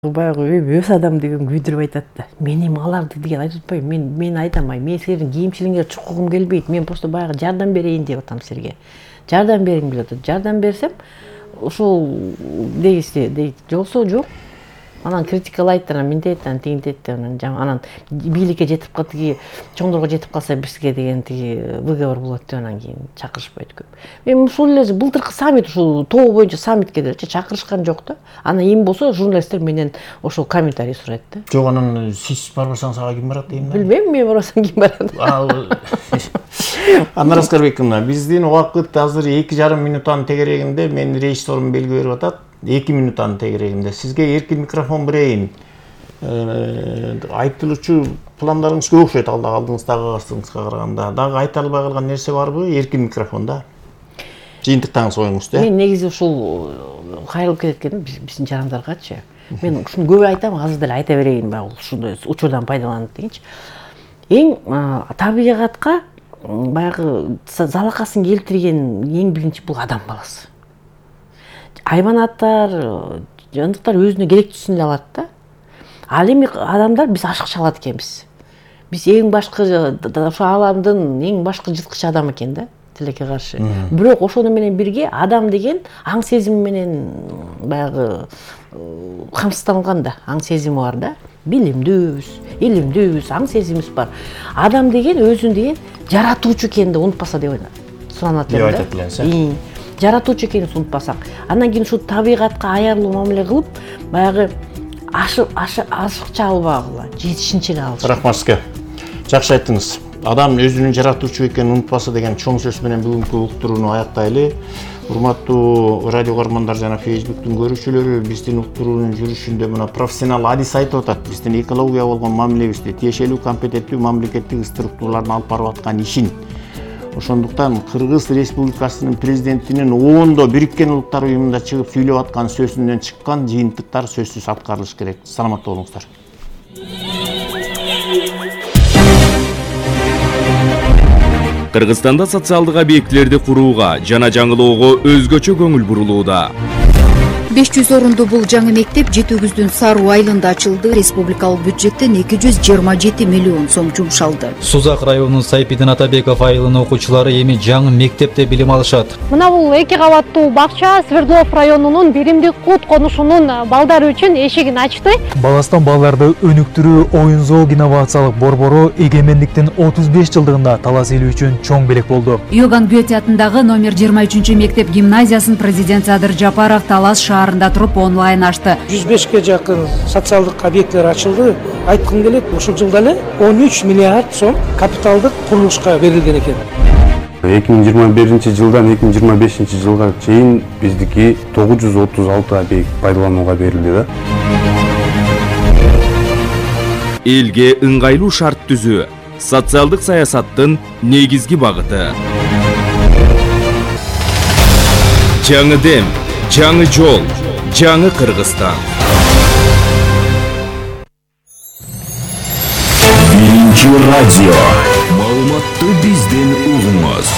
Баягы өз адам деген күйдүрүп айтат да. Мен эми аларды деген айтып атпайм. Мен айтамай. Мен силердин кийимчилиңерге чукугум келбейт. Мен просто баягы жардам берейин деп атам силерге. Жардам бериңиз деп атат. Жардам берсем, ушул дейсизди дейт. Жоксо жок. Анан критикалайт, анан мынтет, анан тигинтет, анан бийликке жетип калды, чоңдорго жетип калса бизге деген тиги выговор болот деп анан кийин чакырышпайт көп. Мен ушул эле былтыркы саммит, ушул тоо боюнча саммитке делечи чакырышкан жок да. Анан эми болсо журналисттер менен ошол комментарий сурайт да. Жок, анан сиз барбасаңыз ага ким барат дейм да. Билбейм, мен барбасам ким барат. Анар Аскарбековна, биздин убакыт азыр 2,5 минуттан тегерегинде, мен режиссерум белги берип атат. 2 минуттан тегерегинде. Сизге эркин микрофон берейин. Айтылуучу пландарыңыз көп окшойт, алдыңыздагы кастыңызга караганда. Дагы айта албай калган нерсе барбы? Эркин микрофонда. Жыйынтыктагыңыз оюңузду. Мен негизи ушул кайрылып кеткеним биздин жарандаргачы. Мен ушуну көп айтам, азыр деле айта берейин, баягы ушундай учурдан пайдаланып дегенчи. Эң табигатка баягы залакасын келтирген эң биринчи бул адам баласы. Хайванаттар, жандыктар өзүнө керектүүсүн эле алат да. Ал эми адамдар биз ашыкча алат экенбиз. Биз эң башкы ошо аламдын эң башкы жырткыч адам экен да, тилекке каршы. Бирок ошону менен бирге адам деген аң сезими менен баягы камсыздалган да, аң сезими бар да. Билимдүүбүз, илимдүүбүз, аң сезимибиз бар. Адам деген өзүн деген жаратуучу экенин унутпаса деп суранат элем да. Жаратуучу экенин унутпасак, андан кийин ушу табигатка аярлуу мамиле кылып, баягы ашыкча албагыла, жетишинче эле алыш. Рахмат сизге. Жакшы айттыңыз. Адам өзүнүн жаратуучу экенин унутпаса деген чоң сөз менен бүгүнкү уктурууну аяктайлы. Урматтуу радио көрөрмандар жана Facebooktун көрүүчүлөрү, биздин уктуруунун жүрүшүндө мына профессионал адис айтып атат. Биздин экология болгон мамилебизди, тиешелүү компетенттүү мамлекеттик структуралардын алып барып аткан ишин. Ошондуктан Кыргыз Республикасынын президентинин оондо Бириккен Улуттар Уюмунда чыгып сүйлөп аткан сөзүнөн чыккан жыйынтыктар сөзсүз аткарылыш керек. Саламатта болуңуздар. Кыргызстанда социалдык объектилерди курууга жана жаңылоого өзгөчө көңүл бурулууда. 500 орунду бул жаңы мектеп Жети-Күздүн Саруу айылында ачылды. Республикалык бюджеттен 227 миллион сом жумшалды. Сузак районунун Сайпидин Атабеков айылынын окуучулары эми жаңы мектепте билим алышат. Мына бул 2 кабаттуу бакча Свердлов районунун Биримдик Кут конушунун балдары үчүн эшигин ачты. Баластан балдарды өнүктүрүү оюн зоог инновациялык борбору эгемендиктин 35 жылдыгында талас эли үчүн чоң белек болду. Иоганн Гёте атындагы номер 23 мектеп гимназиясын президент Садыр Жапаров Талас шаарында туруп онлайн ачты. 105ке жакын социалдык объекттер ачылды. Айткым келет, ушул жылда эле 13 миллиард сом капиталдык курулушка берилген экен. 2021 жылдан 2025 жылга чейин биздики 936 объект пайдаланууга берилди да. Элге ыңгайлуу шарт түзүү социалдык саясаттын негизги багыты. Жаңы дем, жаңы жол, жаңы Кыргызстан. Биринчи радио. Маалыматты бизден угуңуз.